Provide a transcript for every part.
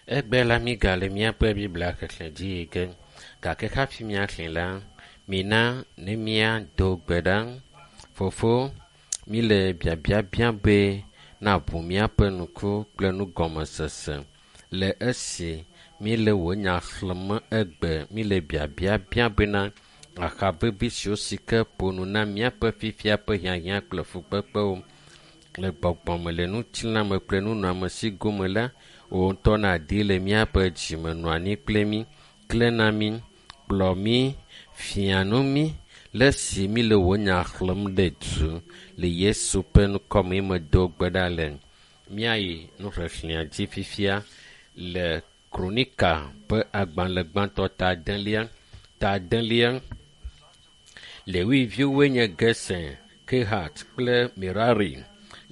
Egbe la mígale míaƒe Biblia xexlẽ dzi yi ge gake hafi míaxlẽ la, mina ne míado gbe ɖa. Fofo, míle biabia biam be naʋu míaƒe ŋku kple nugɔmesese le esi míele wò nya xlẽm egbe. Míle biabia biam bena aha vevi siwo si ke ƒo nu na míaƒe fifia ƒe hiahiã kple fukpekpewo le gbɔgbɔme le ŋutilãme kple nunɔamesi gome la, wò ŋutɔ nàdi le míaƒe dzime nɔ anyi kple mí, klẽ na mí, kplɔ mí, fia nu mí le esi míle wò nya xlẽm ɖe du le Yesu ƒe ŋkɔme medo gbe ɖa le. Míayi nuxexlẽa dzi fifia le Kronika ƒe agbalẽ gbãtɔ ta adelia ta adelia. Lewi viwoe nye Gerson, Kehat kple Merari.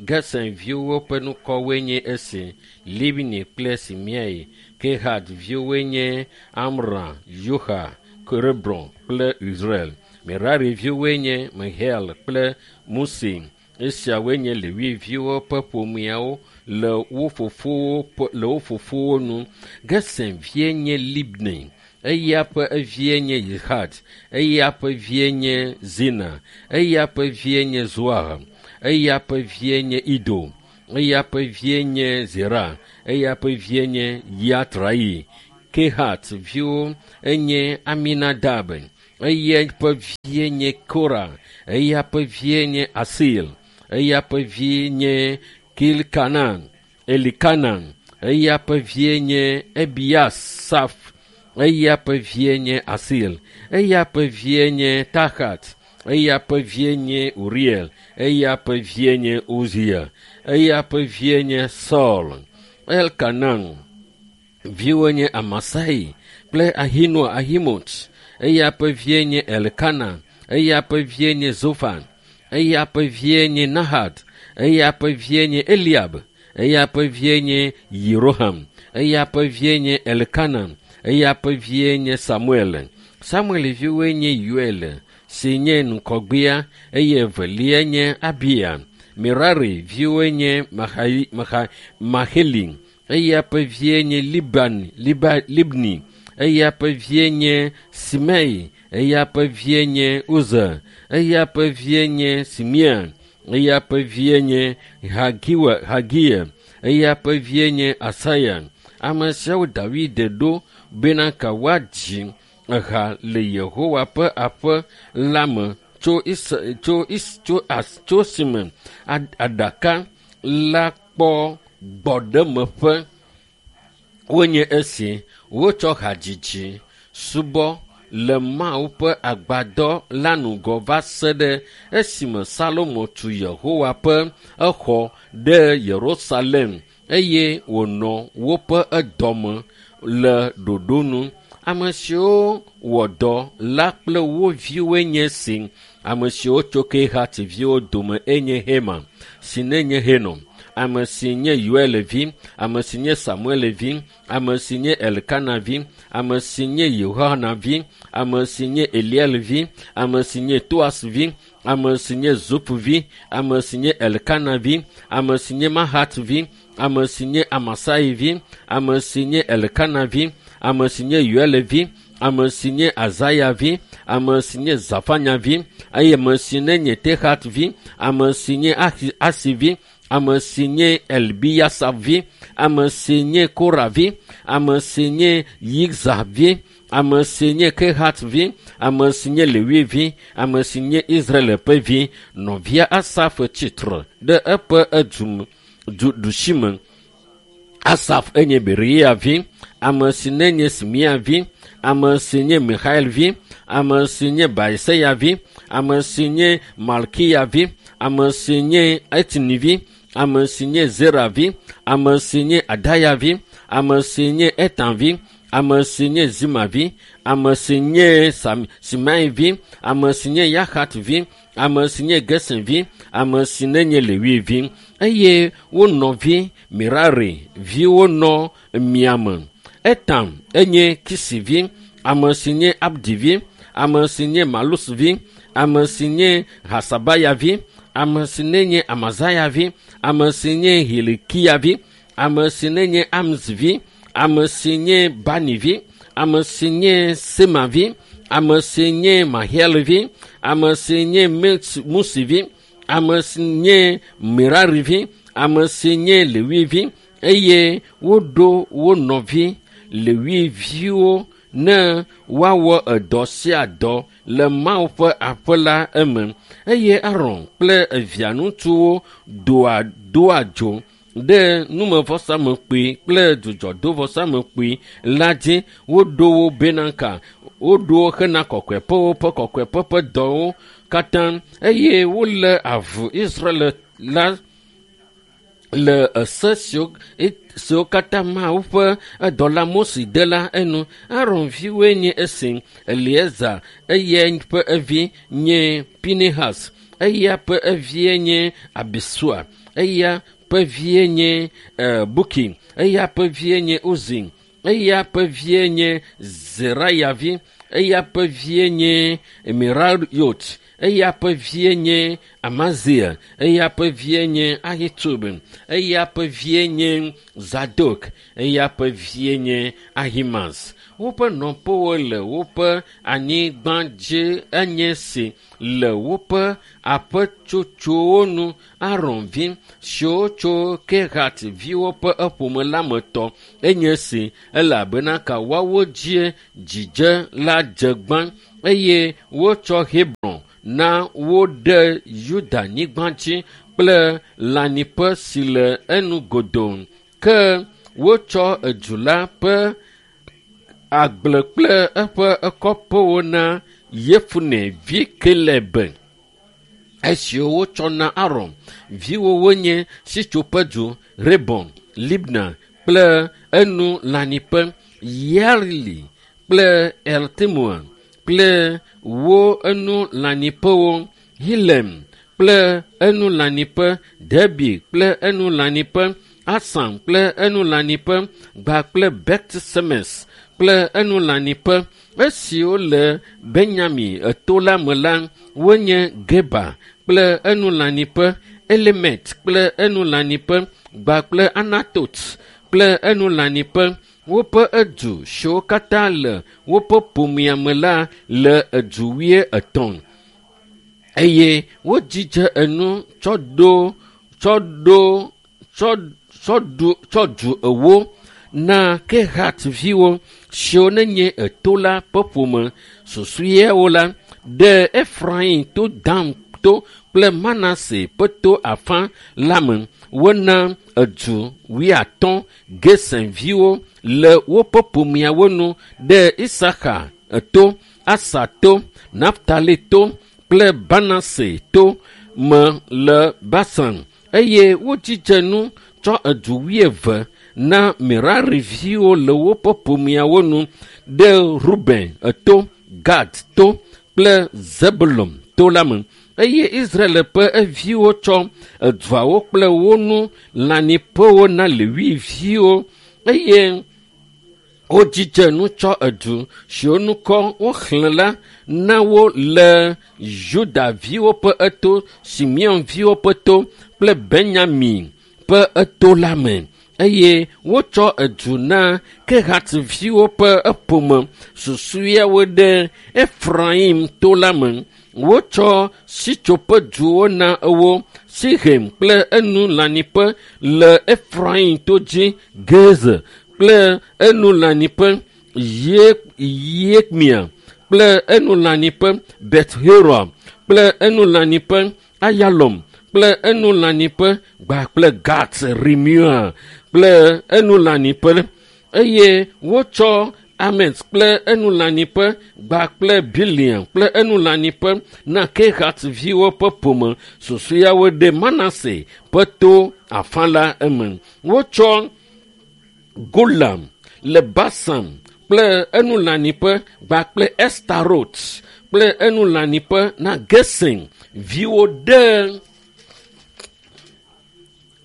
Gerson viwo ƒe ŋkɔwoe nye esi: Libni kple Simei. Kehat viwoe nye Amram, Yoha, Hebron kple Israel. Merari viwoe nye Mihael kple Musi. Esiawoe nye Lewi viwo ƒe ƒomeawo le wo fofowo ƒe le wo fofowo nu. Gerson vie nye Libni. Eya ƒe evie nye Yihat. Eya ƒe vie nye Zina. Eya ƒe vie nye Zoar. Eya ƒe vie nye Ido. Eya ƒe vie nye Zera. Eya ƒe vie nye Yatrai. Kehat viwo enye Aminadab. Eya ƒe vie nye Kora. Eya ƒe vie nye Asil. Eya ƒe vie nye Kilkanan. Elikanan. Eya ƒe vie nye Ebiasaf. Eya ƒe vie nye Asil. Eya ƒe vie nye Tahat. Eya ƒe vie nye Uriel. Eya ƒe vie nye Uzia. Eya ƒe vie nye Saul. Elkanan viwo nye Amasai kple Ahinoa Ahimot. Eya ƒe vie nye Elkana. Eya ƒe vie nye Zofan. Eya ƒe vie nye Nahad. Eya ƒe vie nye Eliab. Eya ƒe vie nye Yeroham. Eya ƒe vie nye Elkana. Eya ƒe vie nye Samuel. Samuel viwoe nye Yoel si nye ŋgɔgbea eye evelia nye Abia. Merari viwoe nye Mahai, Maha, Maheli. Eya ƒe vie nye Liban, Liba, Libni. Eya ƒe vie nye Simei. Eya ƒe vie nye Uza. Eya ƒe vie nye Simea. Eya ƒe vie nye Hagiwa, Hagia. Eya ƒe vie nye Asaya. Ame siawo David ɖo bena ka woadzi eha le Yehowa ƒe aƒe la me tso Is tso Is tso as tso esime aɖaka la kpɔ gbɔɖemeƒe wonye esi wotsɔ hadzidzi subɔ le Mawu ƒe agbadɔ la ŋgɔ va se ɖe esime Salomo tu Yehowa ƒe exɔ ɖe Yerusalem eye wònɔ woƒe edɔme le ɖoɖo nu. Ame siwo wɔ dɔ la kple wo viwoe nye esi. Ame siwo tso Kehat viwo dome enye Hema, si nenye Henɔ, ame si nye Yoel vi, ame si nye Samuel vi, ame si nye Elkana vi, ame si nye Yohana vi, ame si nye Eliel vi, ame si nye Toas vi, ame si nye Zup vi, ame si nye Elkana vi, ame si nye Mahat vi, ame si nye Amasai vi, ame si nye Elkana vi, ame si nye Yoel vi, ame si nye Azaya vi, ame si nye Zafanya vi, eye ame si nye Tehat vi, ame si nye Asi vi, ame si nye Elbiyasa vi, ame si nye Kora vi, ame si nye Yigza vi, ame si nye Kehat vi, ame si nye Lewi vi, ame si nye Israel ƒe vi. Nɔvia Asaf tsitre ɖe eƒe edu du ɖusime. Asaf enye Beria vi, ame si nenye Simea vi, ame si nye Mihael vi, ame si nye Baeseya vi, ame si nye Malkiya vi, ame si nye Etni vi, ame si nye Zera vi, ame si nye Adaya vi, ame si nye Etan vi, ame si nye Zima vi, ame si nye Sam, Simei vi, ame si nye Yahat vi, ame si nye Gerson vi, ame si nenye Lewi vi, eye wo nɔvi Merari viwo nɔ miame. Etam enye Kisi vi, ame si nye Abdi vi, ame si nye Malus vi, ame si nye Hasabaya vi, ame si nenye Amazaya vi, ame si nye Hilikia vi, ame si nenye Amzi vi, ame si nye Bani vi, ame si nye Sema vi, ame si nye Mahiel vi, ame si nye Musi vi, ame si nye Merari vi, ame si nye Lewi vi, eye woɖo wo nɔvi Lewi viwo ne woawɔ edɔ sia dɔ le Mawu ƒe aƒe la eme. Eye Aron kple evia ŋutsuwo doa dzo ɖe numevɔsamlekpui kple dzudzɔdovɔsamlekpui la dzi. Woɖo wo bena ka woɖo wo hena kɔkɔeƒewo ƒe kɔkɔeƒe ƒe dɔwo katã, eye wolé avu Israel la le ese siwo katã Mawu ƒe edɔla Mose de la enu. Aron viwoe nye esi: Eleazar, eya ƒe evi nye Pinehas, eya ƒe evie nye Abisua, eya ƒe vie nye Buki, eya ƒe vie nye Uzi, eya ƒe vie nye Zeraya vi, eya ƒe vie nye Merayot, eya ƒe vie nye Amazia, eya ƒe vie nye Ahitub, eya ƒe vie nye Zadok, eya ƒe vie nye Ahimaaz. Woƒe nɔƒewo le woƒe anyigba dzi enye si le woƒe aƒetsotsowo nu. Aron vi siwo tso Kehat viwo ƒe eƒome la me tɔ enye si, elabena ka woawo dzie dzidze la dze gbã, eye wotsɔ Hebron na wo ɖe Yuda nyigba dzi kple lãnyiƒe si le enu godoo. Ke wotsɔ edu la ƒe agble kple eƒe kɔƒewo na Yefune vi Kaleb. Esiwo wotsɔ na Aron viwo wonye Sitsoƒedu, Rebon, Libna kple enu lãnyiƒe, Yaeli kple Eltemoa kple wo enu lãnyiƒewo, Hilem kple enu lãnyiƒe, Debi kple enu lãnyiƒe, Asam kple enu lãnyiƒe, Gba kple Bet Semes kple enu lãnyiƒe. Esiwo le Benyamin eto la me la, wonye Geba kple enu lãnyiƒe, Elemet kple enu lãnyiƒe, Gba kple Anatot kple enu lãnyiƒe. Woƒe edu siwo katã le woƒe ƒomea me la le edu 23, eye wodzidze enu tsɔ du 40 na Kehat viwo siwo nenye eto la ƒe ƒome susɔeawo la ɖe Efraim to, Dan to kple Manase ƒe to afã la me. Wona edu 50 Gesen viwo le woƒe ƒomeawo nu ɖe Isaka to, Asa to, Naftali to kple Manase to me le Basan, eye wodzidze nu tsɔ edu 20 na Merari viwo le woƒe ƒomeawo nu ɖe Ruben to, Gad to kple Zebulon to la me. Eye Israel ƒe eviwo tsɔ eduawo kple wo nu lãnyiƒewo na Lewi viwo, eye wodzidze nu tsɔ edu siwo ŋkɔ woxlẽ la na wo le Yuda viwo ƒe eto, Simeon viwo ƒe to kple Benyamin ƒe eto la me. Eye wotsɔ edu na Kehat viwo ƒe eƒome susɔeawo ɖe Efraim to la me. Wotsɔ sitsoƒeduwo na wo, Sihem kple enu lãnyiƒe le Efraim to dzi, Gezer kple enu lãnyiƒe, Yekmia kple enu lãnyiƒe, Bet-Horon kple enu lãnyiƒe, Ayalom kple enu lãnyiƒe, Gba kple Gat Rimua kple enu lãnyiƒe. Eye wotsɔ Amet kple enu lãnyiƒe, Gba kple Biliam kple enu lãnyiƒe na Kehat viwo ƒe ƒome susɔeawo ɖe Manase ƒe to afã la eme. Wotsɔ Golam le Basan kple enu lãnyiƒe, Gba kple Estarot kple enu lãnyiƒe na Gesen viwo ɖe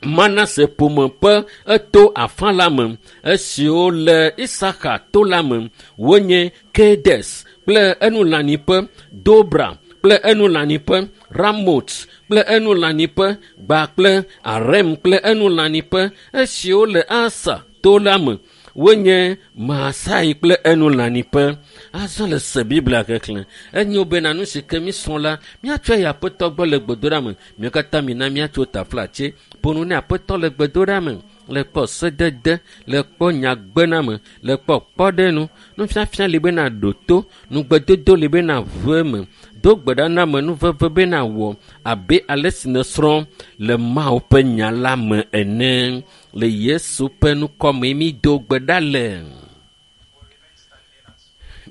Manase ƒome ƒe eto afã la me. Esiwo le Isaka to la me wonye Kedes kple enu lãnyiƒe, Dobra kple enu lãnyiƒe, Ramot kple enu lãnyiƒe, Gba kple Arem kple enu lãnyiƒe. Esiwo le Asa to la me Wonye Masai kple Enulaniƒe. Azɔ le se Biblia xexlẽ. Enyo bena nu si ke mísrɔ̃ la, míatsɔe yi Aƒetɔ gbɔ le gbedoɖa me. Míawo katã mina míatso taflatse. Ƒo nu ne Aƒetɔ le gbedoɖa me. Le kpɔ sedede, le kpɔ nyagbename, le kpɔ kpɔɖenu. Nufiafia li bena ɖo to, nugbedodo li bena ʋu eme. Do gbe ɖa na amenuveve bena wɔ abe ale si nèsrɔ̃ le Mawu ƒe nya la me ene. Le Yesu ƒe ŋkɔme mído gbe ɖa le.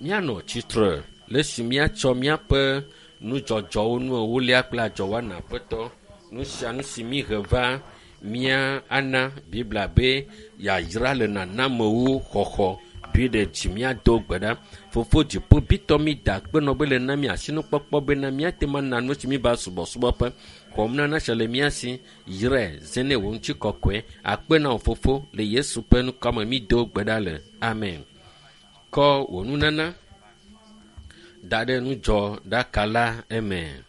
Míanɔ tsitre le esi míatsɔ míaƒe nudzɔdzɔwo nu ewolia kple adzɔwɔna Aƒetɔ. Nu sia nu si míhe va mía ana Biblia be yayra le nanamewo xɔxɔ ɖoe ɖe dzi míado gbe ɖa. Fofo dziƒo bitɔ mi da akpe nɔ be le na mi asinukpɔkpɔ bena míate ŋu ana nu si míva subɔsubɔƒe. Xɔm nana sia le mía si. Yrae, zẽ nɛ wò ŋutikɔkɔe. Akpe na wò fofo le Yesu ƒe ŋkɔme mído gbe ɖa le. Amen. Kɔ wò nunana da ɖe nudzɔɖaka la eme.